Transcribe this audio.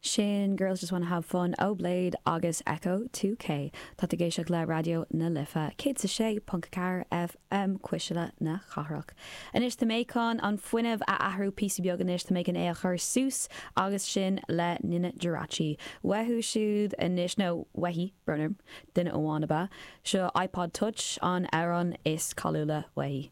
Sin Girls Just Wanna Have Fun ó Bladee agus Ecco2k. Tá tú ag éisteacht le Raidió na Life 106.4 FM, Cuisle na Cathrach. Anois tá mé chun an fuinneamh a athrú píosa beag anois, tá mé chun é a chur suas agus sin le Nina Geraci. Uathu siúd anois, nó uaithi, brón orm, duine amháin ab ea. Seo iPod Touch, an amhrán is cáiliúla uaithi.